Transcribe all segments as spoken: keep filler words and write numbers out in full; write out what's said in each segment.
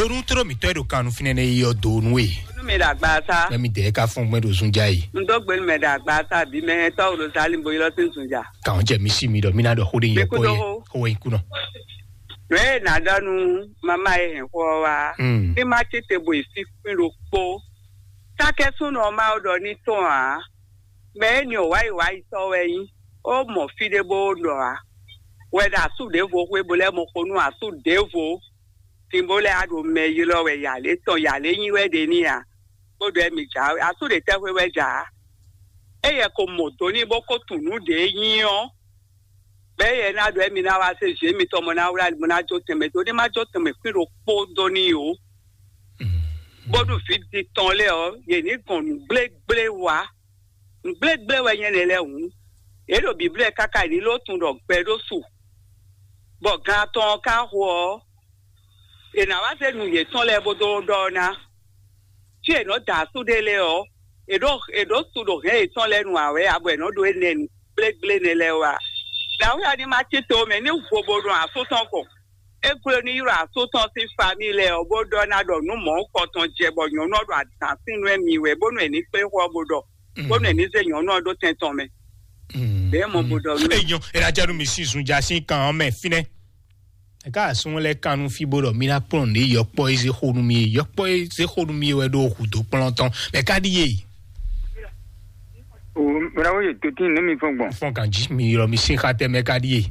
Onú tló mǐtɔn e ɖo kan nú fínɛ́ nɛ́ yi ɔ́ dó nú we. Nú mi ɖo agbaza. Mɛ mi dɛɛ ka fɔ́n gbɛn ɖo zunjá yi. Un dó gbe nú mɛ ɖo agbaza bí mɛ tɔ́ ɖo Zali bo ylɔ́ sín zunjá. Kàn jɛ mi sí mi ɖɔ mí ná ɖɔ xó ɖé nyɔ kpɔ́ yɛ. Xó wɛ nyí kú nɔ. Nǔ e nǎ ɖɔ nú mama e hɛn xó ɔ́ wá. Ní má tete bo yi fí kpín ɖokpó. Sákɛ́súnɔ Mawu ɖɔ ní tɔn ǎ. Mɛ énɛ́ ɔ́ wǎyiwáyitɔ́ wɛ nyí. Ó mɔ fí ɖé bó ɖɔ ǎ. Wɛ ɖo asú ɖěvo xwé bo lɛ́ mɔ xo nú asú ɖěvo. Din bó lɛ́ á ɖo mɛ ylɔ́ wɛ yǎlé tɔn yǎlé nyí wɛ ɖe n'i ǎ. Bó ɖɔ mi jǎ asú ɖě tɛ́xwé wɛ jǎ. Éyɛ ko mɔ do n'i bó ko tunwun nǔ ɖě nyí ɔ́. Bɛ́ yɛ ná ɖɔ émí ná wá se zě mitɔn mɔ ná wlá mɔ ná jó tɛnmɛ dó ní má jó tɛnmɛ kwín ɖokpó dó n'i ó. Bónú vǐ din tɔn lɛ́ɛ ɔ́, yě ní gɔn nǔ gblégblé wá. Nǔ gblégblé wɛ nyɛ nɛ́ lɛ́ɛ hǔn. Yě ɖo bǐblɛ́ káká yě ní ló tunwun ɖɔ gbɛ ɖó su. Bɔ gan atɔn ɔ́ ka xo ɔ́, è nǎ wá zé nǔ yětɔn lɛ́ɛ bó dó ɖɔ ná. Fí è nɔ da asú ɖé lɛ́ɛ ɔ́, è ɖǒ è ɖǒ su ɖo hɛ̌n yětɔn lɛ́ɛ nu ǎ wɛ ǎ, bɔ è nɔ ɖó énɛ́ nu gblégblé nɛ́ lɛ́ɛ wá. Dǎwe ɔ́ ní má cí to mɛ ní vo bo ɖo asú tɔn kɔn. É gló ní ylɔ́ asú tɔn sín famíli lɛ́ɛ ɔ́, bó ɖɔ ná ɖɔ nǔ mɔ̌hunkɔtɔn jɛ bɔ nyɔ̌nu ɔ́ ɖo adǎn sín nú ɛ́ mi wɛ, bónú è ní kplé xó ɔ́ bó ɖɔ, bónú è ní zé nyɔ̌nu ɔ́ ɖó tɛn tɔn mɛ. Bɛ̌ mɔ bó ɖɔ nú. Enyɔ, è nǎ jɛ nú mi sín zunjá sín kan ɔ́ mɛ fínɛ́. Eka asún lɛ kan nú fí bó ɖɔ mí ná kplɔ́n nǔ yɔkpɔ́ e zé xo nú mì e yɔkpɔ́ e zé xo nú mì e wɛ ɖo hǔdó kplɔ́n tɔn mɛ ká ɖíe. O mɛ ná wó yɛ tó tín nú mi fɔn gbɔn. Fɔn kan jí mi ylɔ mi sín xá tɛ mɛ ká ɖíe.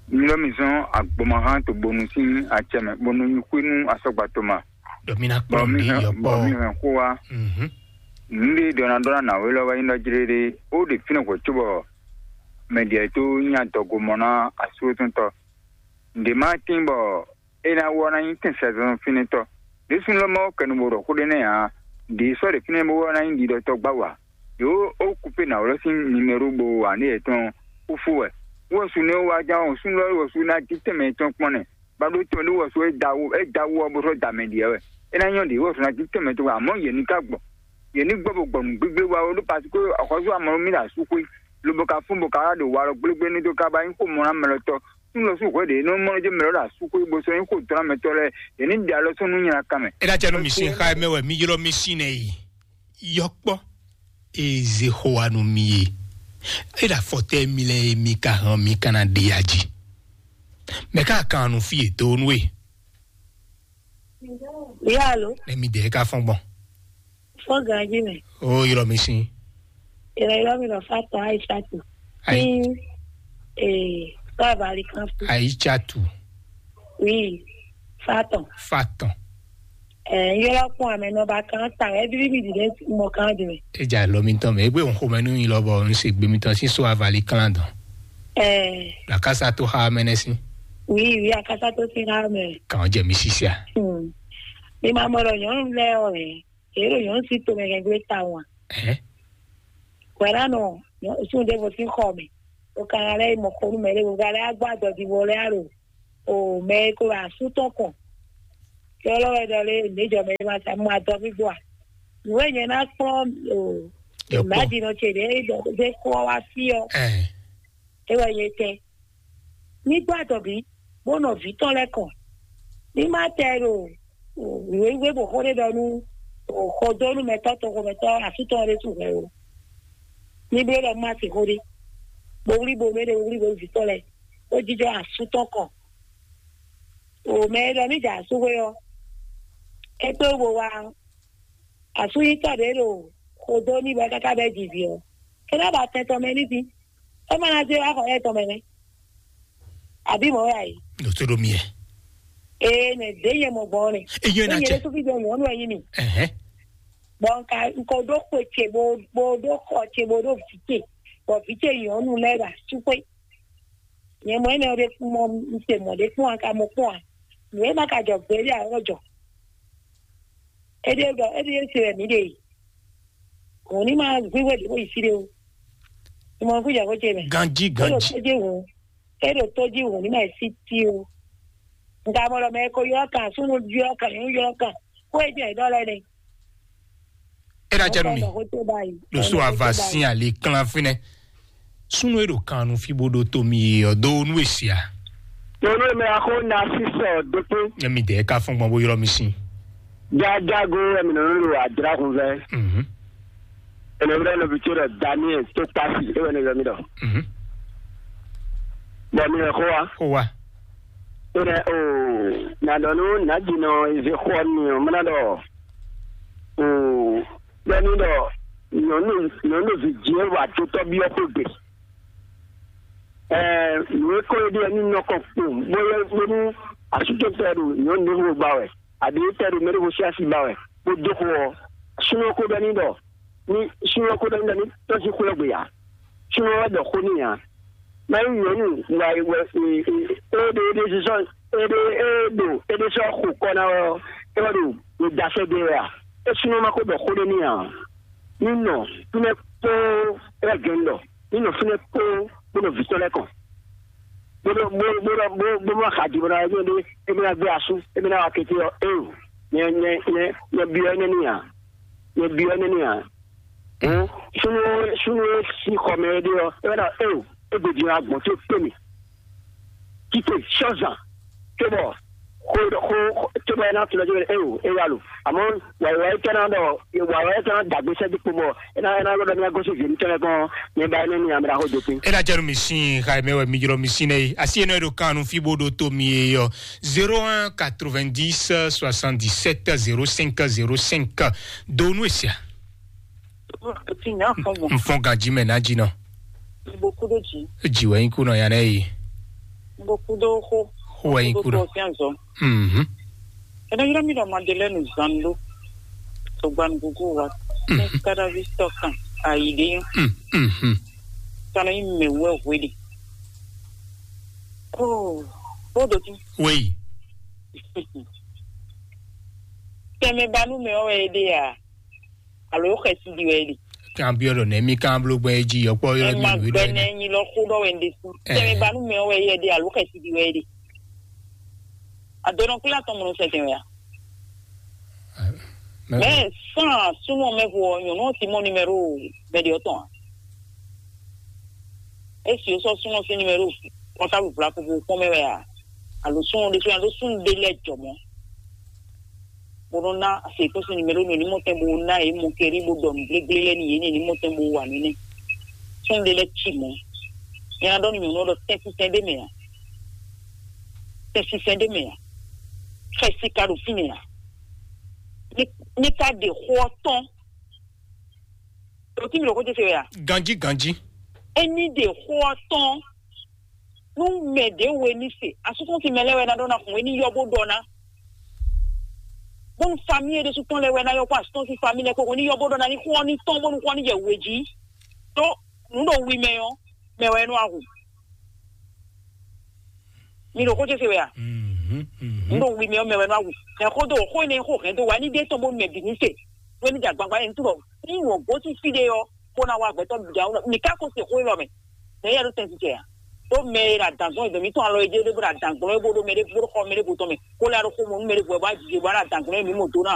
Mi lɔ mi zɔn agbɔmahán to bonu sín acɛ mɛ bonu nyi xwé nú asɔgba to ma. Ɖɔ mí ná kplɔ́n nǔ yɔkpɔ́. Bɔ mi hɛn xó wa. Nǔ ɖé ɖɔ ná ɖɔ ná nǎwe lɔ wɛ nyí ɖɔ jlé ɖé ó ɖe fínɛ́ hwɛ̌ cóbɔ mɛ ɖě tó nyí adɔgo mɔ ná asúlótɔ́ntɔ́. Nǔɖé má tín bɔ é ná wɔ ná nyí tɛn sɛzɔn fínɛ́tɔ́. Ɖésú lɔ mɔ kɛnu bo ɖɔ xó ɖé nɛ́ ǎ. Ɖě sɔ́ ɖě fínɛ́ bó wɔ ná nyí ɖiɖɔtɔ́ gbá wa. Yǒ ó kúpe nǎwlɔ́ sín nimero bo wa ní yětɔn kúfú wɛ. Wɔ su nɛ́ wá ján ɔ́, súnnu lɔ wɔ su ná jí tɛnmɛ tɔn kpɔ́n nɛ. Ba ɖó tɔn ɖé wɔ su é da wú é da wú ɔ́ bó sɔ́ da mɛ ɖiɛ wɛ. É ná nyɔ́ ɖě wɔ su ná jí tɛnmɛ tɔn wɛ, amɔ̌ yě ní ká gbɔ. Yě ní gbɔ bo gbɔ nǔ gbígbé wa ó ɖó parce que axɔ́sú amɔ̌ mí ɖo asú xwé. Lobo ka fún bo ka wá ɖo walɔ gblégbé ní dó ká ba nyí xó mɔ ná mɛ lɔ tɔ́. Súnnu lɔ sú hwɛ ɖě nɔ mɔ jɛ mɛ lɔ ɖo asú xwé bo sɔ́ nyí xó dɔn amɛtɔ́ lɛ́ɛ. Yě ní ɖe alɔ sɔ́ nú nyina kan mɛ. É ná jɛ nú mi sín xá mɛ wɛ mi ylɔ́ mi sín nɛ yi. Yɔkpɔ́ e zé xó wa nú mi e. É ɖo afɔtɛ́ mi lɛ́ɛ e mi ka hɛn mi ka ná ɖe ya jí. Mɛ ká kan nu fí e dó nú e. Yalo. Nɛ mi dɛ ka fɔn gbɔn. Fɔn ganji mɛ. O ylɔ mi sin. Ylɔ ylɔ mi lɔ fa tɔn ayi satu. Ayi. Ee, kaba ali kan fi. Ayi satu. Oui, fa tɔn. Fa tɔn. Ɛɛ, yɔlɔ kún amɛ nɔ ba kan ta ɛ bíbí mi dìde mɔ kan jumɛn. Eja lɔ mi tɔn mɛ egbe òun xomɛ nú yin lɔbɔ òun ṣe gbemi tɔn sí so avali kan dɔn. Ɛɛ. Lakasa tó xa mɛnɛ sí. Oui, oui, akasa tó sí xa mɛ. Kàn jẹ mi sisia. Hmm. Mi ma mɔ lɔ nyɔnu lɛ ɔ ɛ. Èyí ló yàn sí tomɛ kẹgbẹ́ ta wọn. Ẹ. Wẹ̀ránù sún ɖěvo sín xɔ mɛ. O ka lɛ mɔ xonu mɛ ɖěvo ka lɛ agbá dɔdivɔ lɛ alo o mɛ e ko wɛ asú tɔn kɔn. Yɔlɔ wɛ ɖɔ lé nèjɔ mɛ ma sa mɔ adɔ gbígbó a. Nùwé nyɛ ná kplɔn o. Yɔkpɔ. Màdìnà tse ɖe ɖe kó wá sí ọ. Ẹ. E wɛ nyɛ tɛ. Ní gbá dɔ̌ bí, bó nɔ vǐ tɔn lɛ́ɛ kɔn. Ní má tɛ ɖo wěwé bó xó ɖé ɖɔ nú xɔdónúmɛtɔ́ toxomɛtɔ́ asú tɔn ɖé su hwɛ o. Ní bló ɖɔ má se xó ɖé, bó wlí bo mɛ ɖé wlí bo vǐ tɔn lɛ́ɛ, bó jínjɔ́n asú tɔn kɔn. O mɛ e ɖɔ ní jɛ asú xwé ɔ́, é kpé wú bo wá asúyítɔ́ ɖě ɖo xodó ní bɔ é káká bɛ́ jivǐ ɔ́, é ná ba tɛn tɔn mɛ ní dín. É ma ná zé wá xɔ yɛ tɔn mɛ nɛ́. Àbí mɔ̌ wɛ a yě? Ɖo tó ɖo mi ɛ. Ee, nɛ ɖě nyɛ mɔ gbɔn nɛ. Eyɔn na Ényɛ cɛ. Ɖésú fí jɔ nyɔ̌nu ɛ nyí mi. Ɛhɛn. Bɔ nka nko ɖó xwe ce bo bo ɖó xɔ ce bo ɖó vǐ ce, bɔ vǐ ce nyɔ̌nu lɛ́ɛ ɖo asú xwé. Nyɛ mɔ énɛ́ ɖé kún mɔ un se mɔ ɖé kpɔ́n a ka mɔ kpɔ́n a? Nǔ e ma ka jɔ gbě ɖé a ɔ́ jɔ. Éɖée ɖɔ éɖée se wɛ mǐ ɖe yi. Hǔn ní ma hwíhwɛ́ ɖě bó yi fí ɖé ó. Ní mɔ fí jɛ xó ce mɛ. Ganjí, ganjí. Tójí hǔn. É ɖo tójí hǔn ní ma yi sí tí ó. Nka mɔ ɖɔ mɛ ko ylɔ́ kan, súnnu ylɔ́ kan, nyɔ̌nu ylɔ́ kan. Xó e jɛ ɖɔ lɛ́ɛ nɛ. É ná jɛ nú mi. Xó ce báyìí. Ɖo so ava sín ali klán fínɛ́. Súnnu e ɖo kan nu fí bó ɖó tó mi ɔ́ dó nú e sia. Nyɔ̌nu e mɛ axó na sísɔ dókpé. Nyɛ mi dɛ ka fɔn gbɔn bó ylɔ́ mi sín. Jajago wɛ mi nɔ nɔ ɖo adra hun vɛ. Mhm. Ene wɛ nɔ bi to ɖɔ Daniel to kpasi e wɛ ne yɔ mi ɖɔ. Mhm. Bɔ mi yɛ xo wa. Xo wa. Ene o na ɖɔ nu na di nɔ ize xɔ ni o mena ɖɔ o bɛ ni ɖɔ nyɔnu nyɔnu vi jɛ wa to tɔ bi ɔ xo gbe. Ɛɛ nu e kɔ e ɖe ni nɔ kɔ kpo bɔ yɛ bɔ nu asutɔ tɔ ɖo nyɔnu ɖe xo gba wɛ. Àbí tɛ ɖo mɛ ɖé xo sín asi ba wɛ bó dó xo ɔ́, súnnu ɔ́ ko ɖɔ n'i ɖɔ ní súnnu ɔ́ ko ɖɔ n'i ɖɔ ní tɔ́síxwé ɔ́ gbe ǎ. Súnnu ɔ́ wɛ ɖɔ xó n'i ǎ. Má nyí nyɔ̌nu wa wɛ éɖé éɖé sísɔ éɖé é ɖo éɖé sɔ́ xo kɔ ná wɛ ɔ́, é wɛ ɖo ɖo dasɛ ɖé wɛ a? É súnnu ɔ́ ma ko ɖɔ xó ɖé n'i ǎ. Ní nɔ fínɛ́ kpóó é wɛ gɛ́n ɖɔ ní nɔ fínɛ́ kpóó bó nɔ vǐ tɔn lɛ́ɛ kɔn. Bó nɔ bó bó nɔ bó bó nɔ xa di bó nɔ wá ɖe é bó ná gbé asú é bó ná wá kété ɔ́ éo nyɛ nyɛ nyɛ nyɛ byɔ́ énɛ́ n'i ǎ. Nyɛ byɔ́ énɛ́ n'i ǎ. Hǔn súnú súnú e sín xɔ mɛ é ɖe ɔ́ é wɛ ná éo é gbe din agbɔ̌n tó kpé mì. Kíkè sɔ́zan cóbɔ xó xó cóbɔ é ná tunɔ cóbɔ éo é wá lo. Àmọ́ wàyíwá é tɛ́ ná ɖɔ wàyíwá é tɛ́ ná dàgbé sɛ́dí kpomɔ é ná é ná ɖɔ mí ná gosín vǐ mítɔn lɛ́ɛ kpɔ́n. Nyɛ ba énɛ́ n'i ǎ mɛ ɖaxó dopin. Ela jɛ nu mi sin xa mɛ wɛ mi jlɔ mi sin nɛ yi asi enɔ ɖo kan nu fi bo ɖo to mi ye yɔ zéro un quatre-vingt-dix soixante-dix-sept zéro cinq zéro cinq. Do nu esia. Ti nya fɔn bɔ. N fɔn ganji mɛ na ji nɔ. Boku do ji. Ji wɛ nyi kunɔ ya nɛ yi. Boku do xo. Xo wɛ nyi kunɔ. Xo do fian zɔ. Mhm. Ena yira mi dɔ Madeleine Zando. To gban gugu wa. Mhm. Kadavi sɔkan ayi de. Mhm. Kana yi mɛ wɛ hwe de. Oh, o do ti. Oui. Tɛmɛ banu mɛ wɛ de ya. Alo xɛsi di wɛ de. Kan biɔ ɖɔ nɛ mi kan blo gbɛ ji yɔkpɔ yɔ mi nui ɖɔ gbɛnɛ nyi lɔ xo ɖɔ wɛ de su. Tɛmɛ banu mɛ wɛ yɛ de alo xɛsi di wɛ de. Adɔnɔ kula tɔn mɔnɔ sɛ tɛn wɛ ya. Mɛ san sunɔ mɛ vo nyɔnu ti mɔ numéro mɛ de tɔn. Esi o sɔ sunɔ si numéro kɔntabu vla ko bo kpɔn mɛ wɛ ya. Alo sunɔ de sunɔ alo sunɔ de lɛ jɔmɔ. Bó nɔ́ ná àsèkpɔ́sí numéro nɔ ní mɔtɛn bó ná yě mɔ kɛrí bó ɖɔ nǔ gblégblé lɛ́ɛ n'i yě ní ní mɔtɛn bó wa nǔ nɛ́. Sɔ́n ɖé lɛ́ɛ cí mɔ̌. Nyɛ ná ɖɔ nú nyɔ̌nu ɔ́ ɖɔ tɛ́ntíntɛ́n ɖé mɛ ǎ. Tɛ́ntíntɛ́n ɖé mɛ ǎ. Xɛsi ka ɖo fínɛ́ ǎ. Ní ní ka ɖe xó ɔ́ tɔ́n. Ɖo tí mi ɖo xó ce se wɛ a? Ganjí ganjí. Ení ɖe xó ɔ́ tɔ́n. Nú mɛ ɖě we ní se asúkúnsi mɛ lɛ́ɛ wɛ ná ɖɔ ná hun é ní yɔ bó ɖɔ ná. Bónú famíye ɖésú tɔn lɛ́ɛ wɛ ná yɔ kó asúkúnsi famíye lɛ́ɛ kpó hun ní yɔ bó ɖɔ ná ní xó ɔ́ ní tɔ́n bónú xó ɔ́ ní jɛ we jí. Tó nǔ ɖo wi mɛ ɔ́, mɛ wɛ nɔ ahu. Mi ɖo xó ce se wɛ a? Nǔ ɖo wi mɛ ɔ́, mɛ wɛ nɔ ahu. Mɛ xó dó xó énɛ́ xó hɛn dó wa ní ɖe tɔn bónú mɛ bǐ ní se. Bó ní jɛ agbagba yẹn ní túbọ̀ ní wọ́n gosín fí ɖé ɔ́, bó ná wá gbɛtɔ́ bǐ ɖe awu. Mi ka ko se xó élɔ́ mɛ. Mɛ yɛ ɖo tɛn titɛ a? Ɖó mɛ e ɖo adǎn zɔn e dɔ̌n mǐtɔn alɔ e jɛ ɖé bó ɖo adǎn gblɔ́n é bó ɖó mɛ ɖé bó ɖo xɔ mɛ ɖé bó tɔn mɛ, bó lɛ́ ɖo xó mɔ nú mɛ ɖé bó wɛ bó wá jijɛ bó wá ɖo adǎn gblɔ́n é mǐ mɔ do ná.